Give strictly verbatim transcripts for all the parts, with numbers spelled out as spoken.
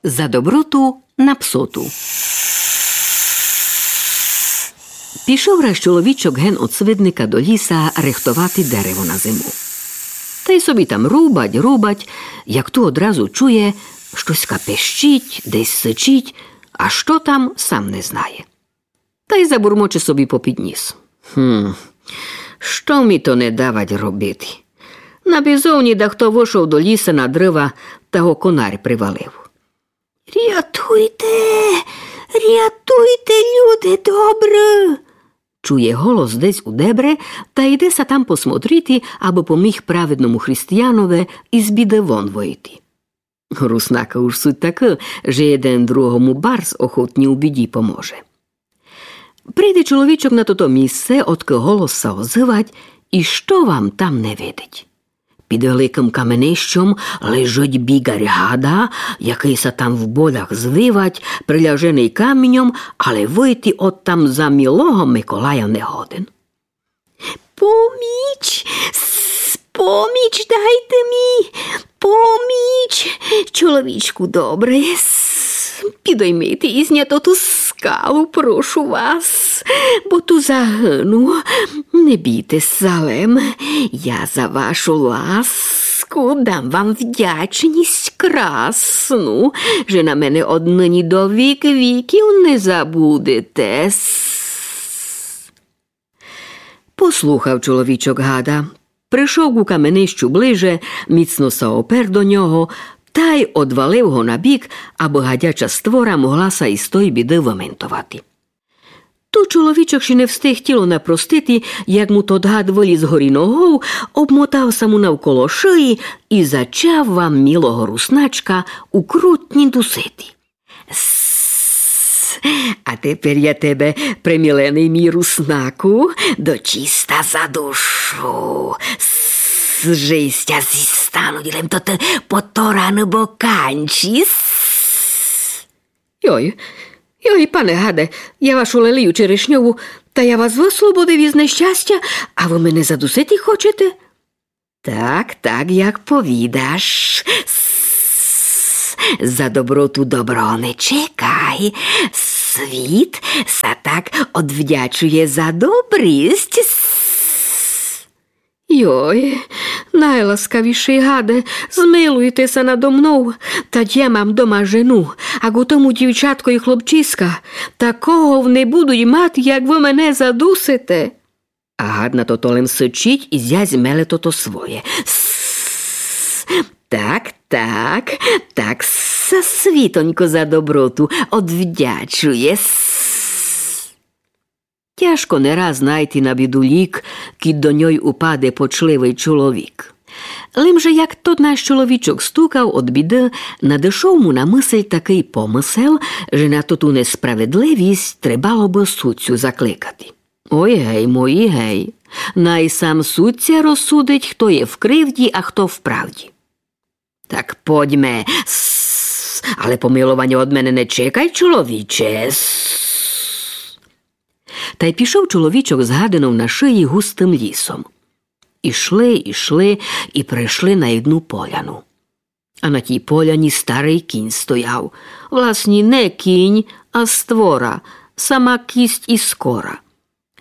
За доброту на псоту. Пішов раз чоловічок ген од свидника до ліса рихтовати дерево на зиму. Тай собі там рубать, рубать, як ту одразу чує, штоська пищить, десь сичить, а што там, сам не знає. Тай забурмоче собі попід ніс: Гм, што мі то не давать робити? На бізовні дахто вышов до ліса на дрыва, та го конар привалив. Рятуйте, рятуйте, люди добры! Чує голос десь у дебре, та йде ся там посмотрити, абы поміг праведному християнове из біды вон выйти. Руснака уж суть такы, же єден другому барз охотні у біді поможе. Прийде чоловічок на тото місце, одкы голос ся озывать, і што вам там не видить? Під великым каменищом лежить біґарь гада, якый ся там в болях звивать, приляженый каміньом, але выйти одтам за мілого Миколая не годен. Поміч, с-, поміч дайте мі, поміч, чоловічку добрый, с-, підоймите из ня тоту скалу, прошу вас, бо ту загыну. Не бійте ся лем, я за вашу ласку дам вам вдячність красну, же на мене одныні до вік віків не забудете. С-, Послухав чоловічок гада, пришов ку каменищу ближе, міцно ся опер до нього, тай одвалив го на бік, абы гадяча створа могла ся из той біды выментовати. Ту чоловічок ще не встиг тіло напростити, як му тот гад выліз горі ногов, обмотав ся му навколо шиї і зачав вам мілого русначка укрутні дусити. С-, а тепер я тебе, преміленый мій руснаку, до чиста задушу. С-, же ся зістануть лем тоты потораны боканчі. С-, Йой, йой, пане гаде, я вашу лелію черешньову, та я вас выслободив из нещастя, а вы мене задусити хочете? Так, так, як повідаш. С-, за доброту добро не чекай. Світ ся так одвдячує за добрість. С-, Йой, найласкавішый гаде, змилуйте ся надо мнов, та я мам дома жену, а ку тому дівчатко і хлопчиська, такого не будуть мати, як вы мене задусите. А гад на тото лем сичить і зязь меле тото своє. С-, так, так, так ся світонько за доброту одвдячує. С-, Тяжко не раз найти на біду лік, кідь до ньой упаде почливый чоловік. Лим же як тот наш чоловічок стукав од біды, надышов му на мысль такый помысел, же на тоту несправедливість требало бы судцю закликати. Ой гей, мої гей. Най сам судця розсудить, хто є в кривді, а хто в правді. Так подьме, с-, але помилованя од мене не чекай, чоловіче. С-. Тай пішов чоловічок з гадинов на шиї густым лісом. Ішли, ішли і пришли на єдну поляну. А на тій поляні старый кінь стояв. Власні, не кінь, а створа, сама кість і скора.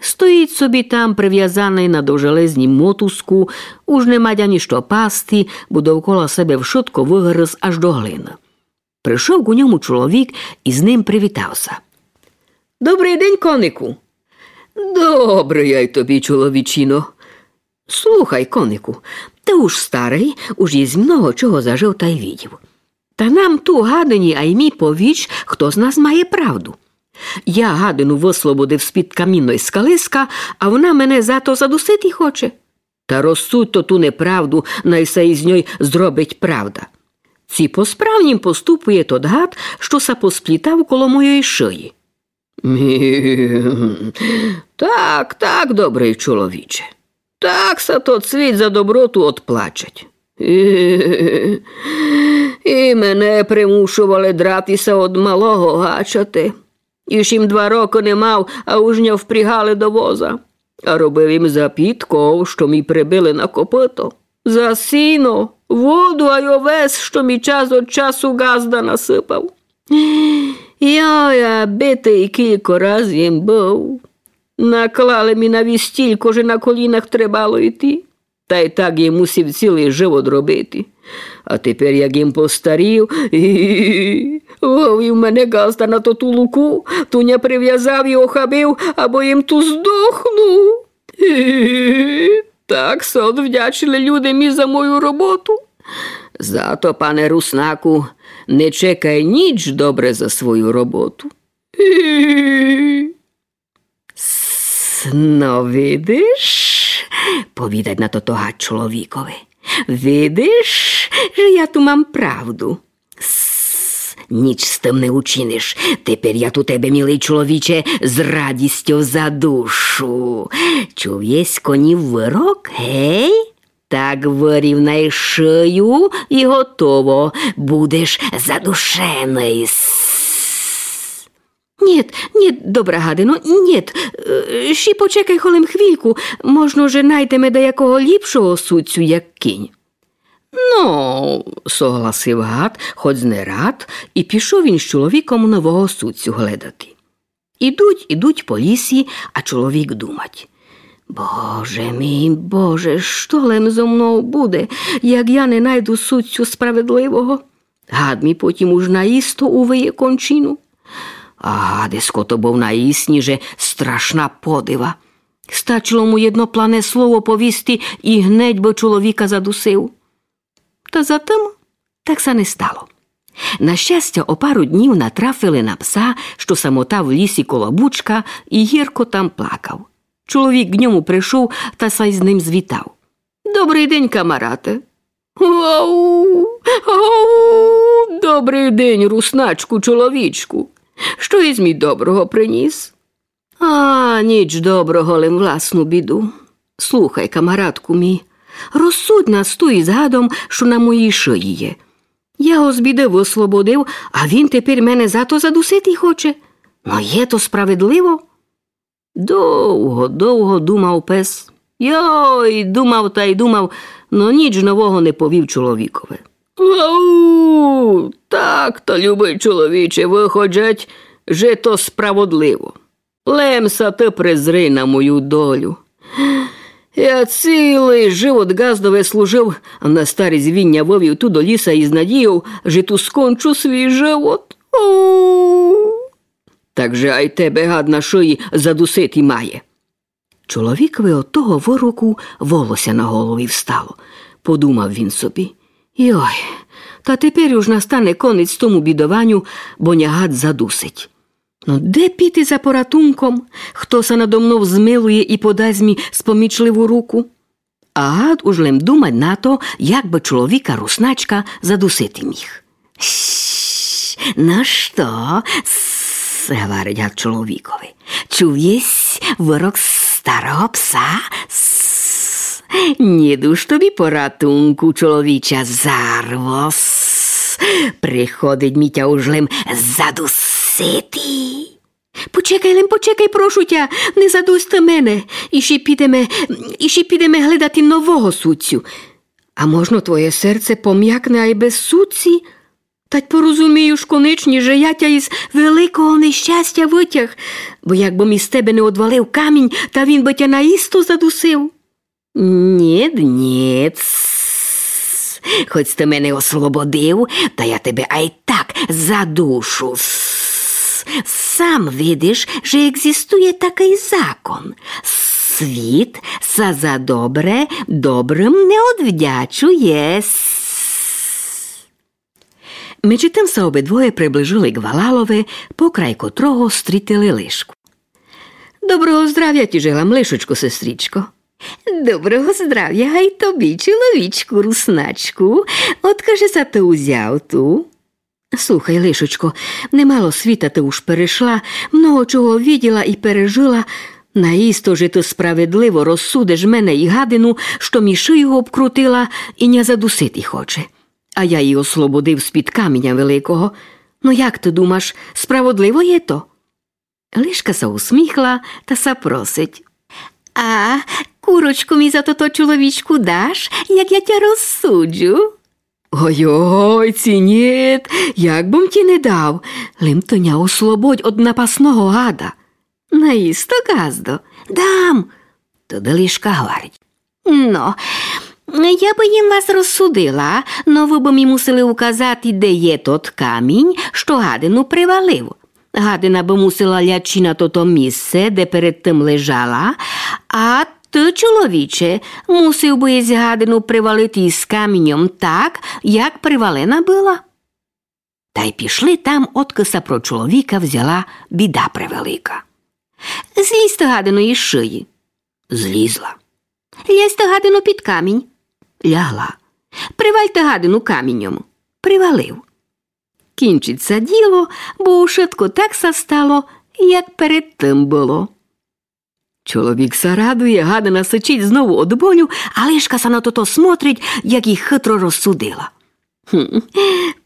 Стоїть собі там, привязаный на довжелезнім мотузку, уж не мать ані што пасти, бо довкола себе вшытко выгрыз аж до глины. Пришов ку ньому чоловік і з ним привітав ся. Добрый день, конику. Добрый ай тобі, чоловічино. Слухай, конику, ты уж старый, уж єсь много чого зажыв тай видів. Та нам ту, гадині, ай мі повіч, хто з нас має правду. Я гадину выслободив з-під камінной скалиска, а вона мене за то задусити хоче. Та розсудь тоту неправду, най ся из ньой зробить правда. Ци по-справнім поступує тот гад, што ся посплітав коло мойой шиї? Так, так, добрый чоловіче. Так ся тот світ за доброту одплачить. І мене примушовали драти ся од малого гачати. Іщ им два рокы не мав, а уж ня впрягали до воза. А робив им за підков, што мі прибили на копыто. За сіно. Воду ай овес, што мі час од часу ґазда насыпав. Йой, а битый кілько раз єм быв. Наклали мі на віз стілько, же на колінах требало йти. Тай так єм мусив цілый живот робити. А тепер, як єм постарів, вывів мене ґазда на тоту луку, ту ня привязав і охабив, або єм ту здохнув. Так ся одвдячили люди мі за мою роботу. Зато, пане руснаку, не чекай ніч добре за свою роботу. С-, но, видиш, повідать на тото гад чоловікови. Видиш, же я ту мам правду. С-, ніч з тым не учиниш. Тепер я ту тебе, милый чоловіче, з радістю задушу. Чув єсь конів вырок, гей? Так вырівнай шыю і готово. Будеш задушеный. С-, Нєт, нєт, добра гадино, нєт. Е, ще почекай холем хвільку, можно, же найдеме даякого ліпшого судцю, як кінь. Но, согласив гад, хоц не рад, і пішов він з чоловіком нового судцю гледати. Ідуть, ідуть по лісі, а чоловік думать: Боже мій, Боже, што лем зо мнов буде, як я не найду судцю справедливого? Гад мі потім уж наісто увиє кончину. А гадеско то быв наісніже страшна подива. Стачило му єдно плане слово повісти і гнедь бы чоловіка задусив. Та затым так ся не стало. На щастя, о пару днів натрафили на пса, што самотав в лісі коло бучка і гірко там плакав. Чоловік к ньому пришов та ся з ним звітав: Добрый день, камарате. Ау, ау, добрый день, русначку, чоловічку. Што єсь мі доброго приніс? А, ніч доброго, лем власну біду. Слухай, камаратку мій, розсудь нас ту із гадом, што на моїй шиї є. Я го з біды выслободив, а він тепер мене за то задусити хоче. Но є то справедливо? Довго, довго думав пес. Йой, думав тай думав, но ніч нового не повів чоловікови. Ау, так то, любый чоловіче, выходжать, же то справодливо. Лем ся ты призри на мою долю. Я цілый живот ґаздови служив, а на старість він ня вывів ту до ліса із надійов, же ту скончу свій живот. Ау! Так же ай тебе гад на шиї задусити має. Чоловікови од того выроку волося на голові встало. Подумав він собі: Йой, та тепер уж настане конець тому бідованю, бо ня гад задусить. Но де піти за поратунком? Хто ся надо мнов змилує і подасть мі спомічливу руку? А гад уж лем думать на то, як бы чоловіка русначка задусити міг. Ш, но што? С, говорить гад чоловікови. Чув єсь вырок старого пса? С, нє дуж тобі поратунку, чоловіча зарво. С, приходить мі тя уж лем задусити. Почекай лем, почекай, прошу тя, не задусь ты мене. Іщи підеме, іщи підеме гледати нового судцю. А можно, твоє серце пом'якне ай без судці? Тать порозумію уж конечні, же я тя із великого нещастя вытяг, бо як бы мі з тебе не одвалив камінь, та він бы тя наісто задусив. Нєт, нєт. Хоц ты мене ослободив, та я тебе ай так задушу. С, сам видиш, же екзистує такый закон. Світ ся за добре добрым не одвдячує. С. Меджі тым ся обидвоє приближили к валалови, покрай котрого стрітили лишку. Доброго здравя ті желам, лишочко, сестрічко. Доброго здравя гай тобі, чоловічку, русначку. Откажи ся ты узяв ту? Слухай, лишочко, немало світа ты уж перешла, много чого виділа і пережила. Наісто же ты справедливо розсудиш мене і гадину, што мі шию обкрутила і ня задусити хоче. А я її ослободив з-під каміня великого. Но як ты думаш, справедливо є то? Лишка ся усміхла та ся просить: А, Курочку мі за тото, чоловічку, даш, як я тя розсуджу? Ой-ой, ци нєт, як бым ті не дав, лем ты ня ослободь од напасного гада. Наісто, ґаздо, дам. Тогды лишка гварить: Но, я бы їм вас розсудила, но вы бы мі мусили указати, де є тот камінь, што гадину привалив. Гадина бы мусила лячи на тото місце, де перед тым лежала, а ты, чоловіче, мусив бы єсь гадину привалити із каміньом так, як привалена была. Тай пішли там, одкы ся про чоловіка взяла біда превелика. Злізте, гадино, із шиї. Злізла. Лязьте, гадино, під камінь. Лягла. Привальте гадину каміньом. Привалив. Кінчить ся діло, бо ушытко так ся стало, як перед тым было. Чоловік ся радує, гадина сичить знову од болю, а лишка ся на тото смотрить, як їх хитро розсудила. Хм,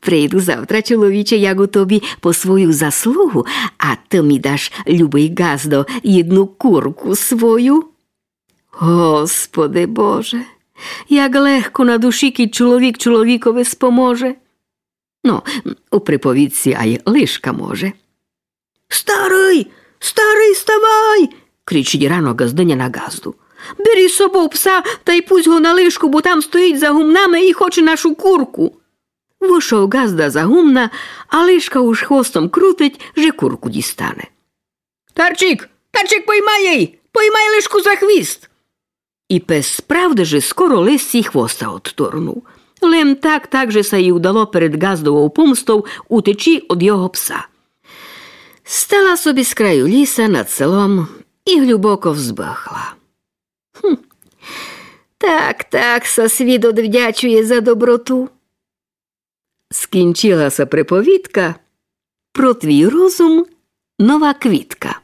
прийду завтра, чоловіче, як у тобі, по свою заслугу, а ты мі даш, любый ґаздо, єдну курку свою. Господи Боже, як легко на душі, кідь чоловік чоловікови споможе. Но, у приповідці ай лишка може. Старый, старый, ставай! Кричить рано ґаздыня на ґазду. Бери з собов пса тай пусть го на лишку, бо там стоїть за гумнами і хоче нашу курку. Вышов ґазда за гумна, а лишка уж хвостом крутить, же курку дістане. Тарчик, Тарчик, поймай єй! Поймай лишку за хвіст! І пес справды же скоро лисці хвоста одторнув. Лем так, так же ся їй удало перед ґаздовов помстов утечи од його пса. Стала собі з краю ліса над селом і глюбоко вздыхла. Хм. Так, так ся світ одвдячує за доброту. Скінчила ся приповідка. Про твій розум нова квітка.